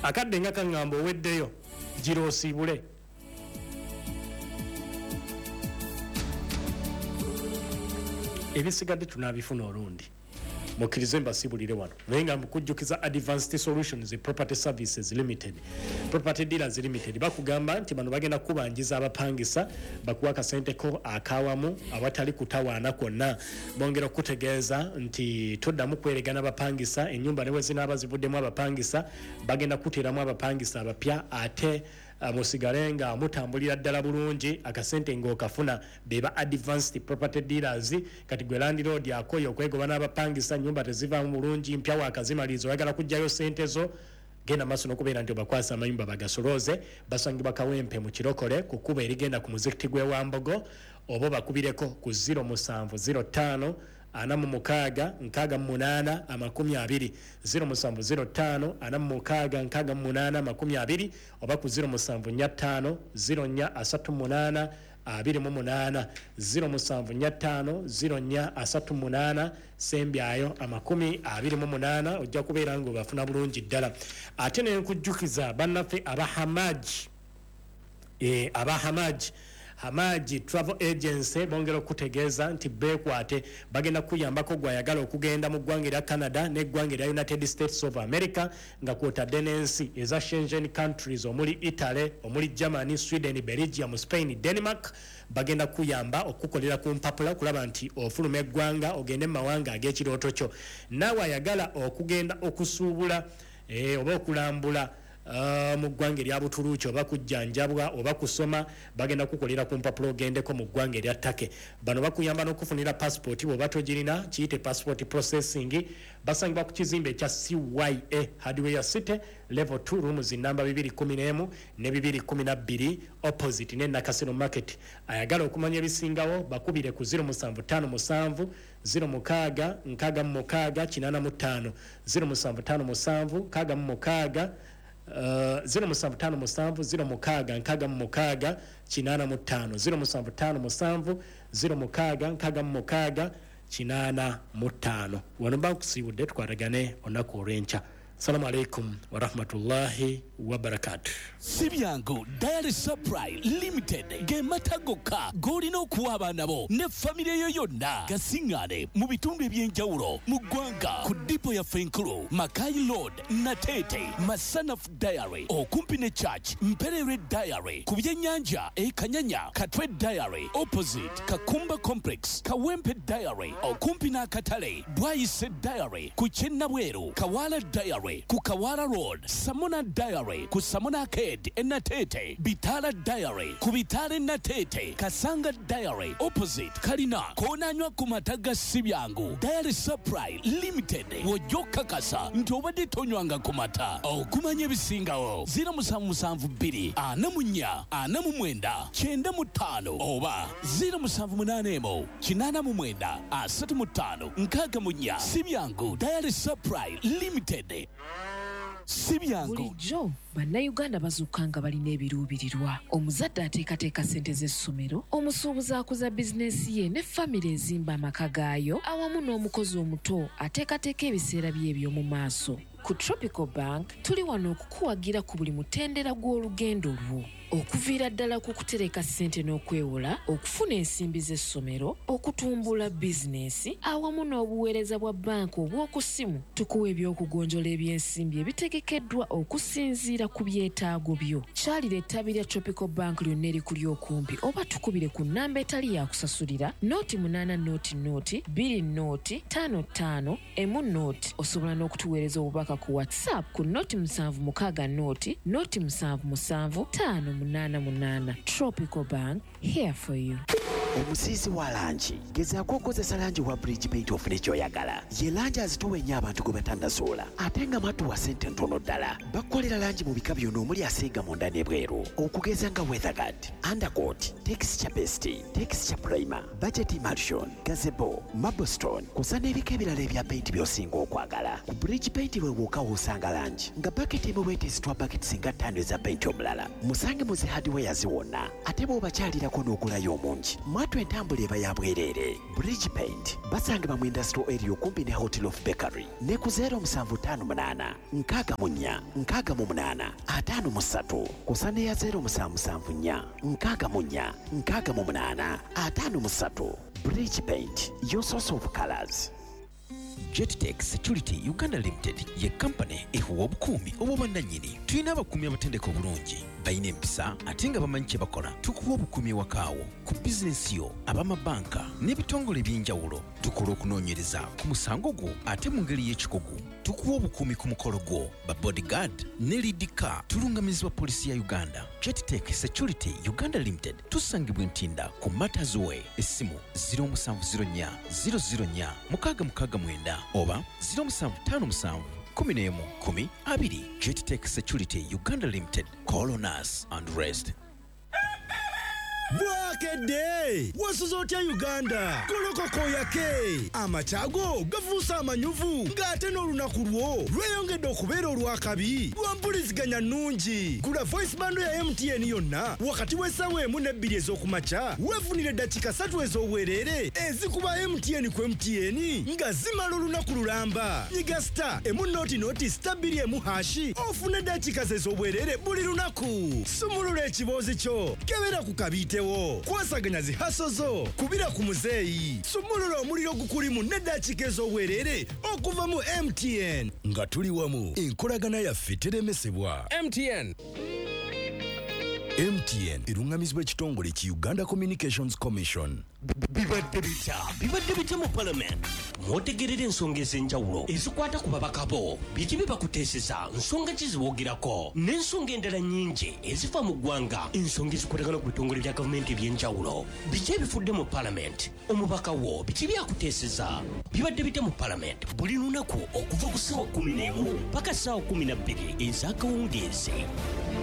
Akadde nga kaŋŋamba oweddeyo, gira osiibule. Ebisigadde tunaabifuna olundi. Mukkirize mbasiibulire wano, naye nga mukujjukiza Advanced Solutions Property Services Limited, Property Dealers Limited, bakugamba nti bano bagenda kukubanjiza abapangisa, bakuwa akasente ko akawamu awatali kutawaana kwonna. Bongera okukutegeeza nti toddamu kweregana bapangisa, ennyumba ne bwe zinaaba zivuddemu abapangisa, bagenda kukuteeramu abapangisa abapya, ate musigale nga mutambulira ddala bulungi, akasente ng'okafuna. Be ba Advanced Property Dealers. Kati gwe landiroodi akooye okwegoba n'abapangisa, nnyumba tezivaamu bulungi, mpya waakazimaliriza, oyagala kuggyayo ssente zo, genda maaso n'okubeera nti obakwasa amayumba bagasolooze. Basangibwa Kawempe mu Kirokole ku kkubo erigenda ku muzikiti gw'e Wambogo, oba obakubireko ku 07 05 46 68 20, 07 05 46 68 20, oba ku 07 45 04 38 28, 07 45 04 38 sembyayo 28, ojja kubeera ng'obafuna bulungi ddala. Ate ne nkujjukiza bannaffe aba Hamaj, aba Hamaj, Hamaji Travel Agency, bongera okutegeeza nti beekwate, bagenda kukuyambako gwayagala okugenda mu ggwanga erya Canada n'eggwanga erya United States of America, nga kwotadde n'ensi eza Schengen countries omuli Italy, omuli Germany, Sweden, Belgium, Spain, Denmark. Bagenda kukuyamba okukukolera ku mpapula okulaba nti ofuluma eggwanga ogende mu mawanga ag'ekirooto kyo. Naawe ayagala okugenda okusuubula oba okulambula mu ggwanga erya Butuluuki, oba kujjanjabwa oba kusoma, bagenda kukolera ku mpapula ogendeko mu ggwanga erya Turkey. Bano bakuyamba n'okufunira passport bw'oba togirina, kiyite passport processing. Basangibwa ku kizimbe ekya CYA Hardware City, level 2, rooms namba 211 ne 212, opposite ne Nakasero Market. Ayagala okumanya ebisingawo bakubire ku 0757 06 66 85, 0757 66, 0757 06 66 85, 0757 06 66 85. Wano mba nkusiibudde, tukwatagane olunaku olw'enkya. Assalamu alaikum warahmatullahi wabarakatuh. Si byangu Dairy Supply Limited ge mata gokka g'olina okuwa abaana bo ne famire yo yonna. Gasiŋŋaane mu bitundu eby'enjawulo mu ggwanga ku ddipo yaffe enkulu, Mackay Road, Nateete, Masanafu Dairy okumpi ne Church, Mpererwe Dairy ku byennyanja e Kanyanya, Katwe Dairy opposite Kakumba Complex, Kawempe Dairy okumpi n'akatale, Bwaise Dairy ku ky'e Nabweru, Kawaala Dairy ku Kawaala Road, Samona Dairy ku Samona Arcade e Nateete, Bitaala Dairy ku Bitaala e Nateete, Kasanga Dairy opposite Kalina. K'onaanywa ku mata ga Sibyangu Dairy Supply Limited w'ojja okukakasa nti obadde tonywanga ku mata. Okumanya ebisingawo 0772 44 49 95 oba 0781 89 35 64. Sibyangu Dairy Supply Limited. Sibyangu. Bulijjo Bannayuganda bazuukuka nga balina ebiruubirirwa. Omuzadde ateekateeka ssente z'essomero, omusuubuzi akuza bizinensi ye ne famire ezimba amaka gaayo awamu n'omukozi omuto ateekateeka ebiseera bye eby'omu maaso. Ku Tropical Bank tuli wano okukuwagira ku buli mutendera gw'olugendo lwo. Okuviira ddala ku kutereka ssente n'okwewola, okufuna ensimbi z'essomero, okutumbula bizinensi awamu n'obuweereza bwa bbanka obw'oku ssimu, tukuwa eby'okugonjola eby'ensimbi ebitegekeddwa okusinziira ku byetaago byo. Kyalira ettabi lya Tropical Bank lyonna erikuli okumpi oba tukubire ku nnamba etali ya kusasulira, 0 8 0 0 2 0 5 5 1 0. Osobola n'okutuweereza obubaka ku WhatsApp ku 076 0 0 7 7 5 8 8. Tropical Bank, here for you. Omusiizi wa langi, gezaako okozesa langi wa Bridge Paint ofune ky'oyagala. Ye langi azitowa ennyo abantu gwe batannazuula, ate nga mwattu wa ssente ntono ddala. Bakukolera langi mu bika byonna omuli asiiga munda n'ebweru, okugeza nga weatherguard, undercoat, texture paste, texture primer, budget emulsion, gazebo, marblestone, kw'ossa n'ebika ebirala ebya paint by'osinga okwagala. Ku Bridge Paint we wokka w'osanga langi nga baketi emu bwetezitwa baketi singa 5 eza paint omulala. Musange mu zi hardwares wonna, ate bw'obakyalirako n'ogulayo omungi. Mwatu entambula eba ya bwereere. Bridge Paint basangibwa mu Industrial Area okumpi ne Hotel of Bakery ne ku 0758 64 68 53 kusa ne ya 0774 64 68 53. Bridge Paint, your source of colors. Jettech Security Uganda Limited ye kampani ehuwa obukuumi obw'obwannannyini. Tulina abakuumi abatendeka obulungi, balina empisa ate nga bamanyi kye bakola. Tukuwa obukuumi ewakaawo, ku bizinensi yo, ab'amabanka n'ebitongole eby'enjawulo. Tukola okunoonyereza ku musango gwo ate mu ngeri y'ekikugu. Tukuwa obukuumi ku mukolo gwo, ba bodyguard ne lead car. Tulungamizibwa poliisi ya Uganda. Jettech Security Uganda Limited tusangibwa Ntinda ku Matters Way. Essimu 0704 004 669 oba 0757 11 10 20. Jettech Security Uganda Limited. Call on us and rest. Bwakedde wasuze otya Uganda? Golokoko yake amakyago gafuuse amanyuvu, ng'ate n'olunaku lwo lweyongedde okubeera olwakabi lwa mpuliziganya nnungi. Gula voice bundle ya MTN yonna wakati w'essaawa 1 ne 2 ez'okumakya, weefunire eddakiika 3 ez'obwereere ezikuba MTN ku MTN nga zimala olunaku lulamba. Nyiga star emu noti noti star 2 emu hashi ofune eddakiika ez'obwereere buli lunaku. Sumulula ekiboozi kyo, kebera ku kabiite, kwasaganya zihaso zo, kubira ku muzeeyi, sumulula omuliro gukulimu n'eddakiika ez'obwereere okuva mu MTN. Nga tuli wamu, enkolagana yaffe teremesebwa. MTN. MTN erungamizibwa ekitongole ki Uganda Communications Commission. Bibadde bitya? Bibadde bitya mu Parliament? Mwotegerera ensonga ez'enjawulo ezikwata ku babaka bo, biki bye bakuteeseza, nsonga ki ziwogirako, n'ensonga endala nnyingi ezifa mu ggwanga, ensonga ezikwatagana ku bitongole bya gavumenti eby'enjawulo. Biki ebifudde mu Parliament? Omubaka wo biki byakuteeseza? Bibadde bitya mu Parliament? Buli lunaku okuva ku ssaawa 11 paka ssaawa 12 ez'akawungeezi.